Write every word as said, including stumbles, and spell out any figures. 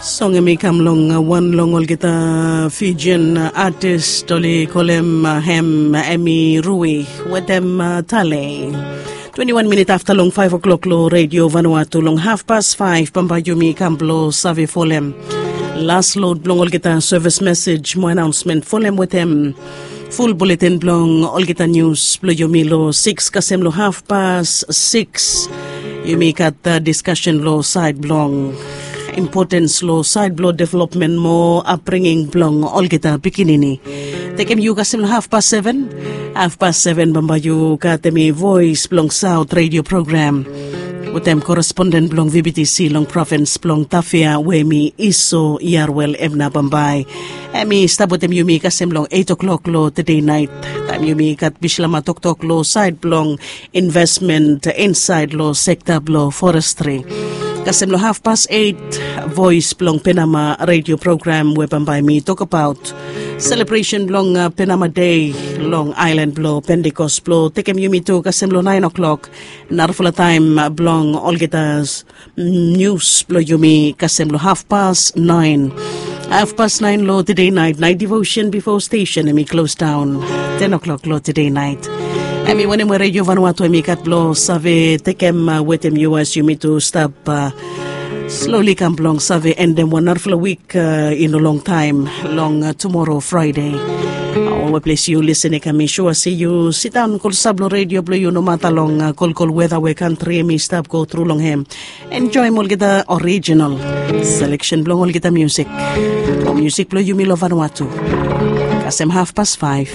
Song em i kam long wan long olgeta Fijian artist oli kolem hem em i Rui wetem Tale. Twenty-one minit afta long five o'clock lo Radio Vanuatu, long hafpas five bambae yumi kam blo save folem las lod blong olgeta service message mo announcement, folem wetem ful bulletin blong olgeta news blo yumi lo six kasem lo hafpas six. Yumi gat discussion lo side blong importance lo side blo development mo upbringing blong olgeta pikinini. Tekem yu kasem lo hafpas seven. Hafpas seven bambae yu gat em i Voice blong South Radio Program wetem correspondent blong V B T C long provins blong Tafea we em i Iso Yarwel. Em na bambae em i stap wetem yumi kasem long eight o'clock lo tede nait, taem yumi gat bislama toktok lo side blong investment insaed lo sekta blo forestri. Kasem lo hafpas eight, Voice blong Penama Radio Program we bambae mi tokbaot selebresen blong Penama Dei long aelan blo Pentikos blo tekem yumi tu kasem lo nine o'clock. Narafala taem blong olgeta nius blo yumi kasem lo hafpas nine. Hafpas nine lo tede nait, nait devotion bifo stesen em i klos daon ten o'clock lo tede nait. Em i wanem we Radio Vanuatu em i gat blo save tekem wetem yu as yumi tu stap sloli kam blong save endem wan narafala wik i no longtaem long tumoro Fraede. Ol we ples yu lisin i kam, mi sua se yu sidaon klosap lo redio blo yu nomata long kolkol weta we kantri em i stap go tru long hem. Enjoem olgeta orijinal seleksen blong olgeta musik o musik blo yumi lo Vanuatu. Kasem hafpas faef.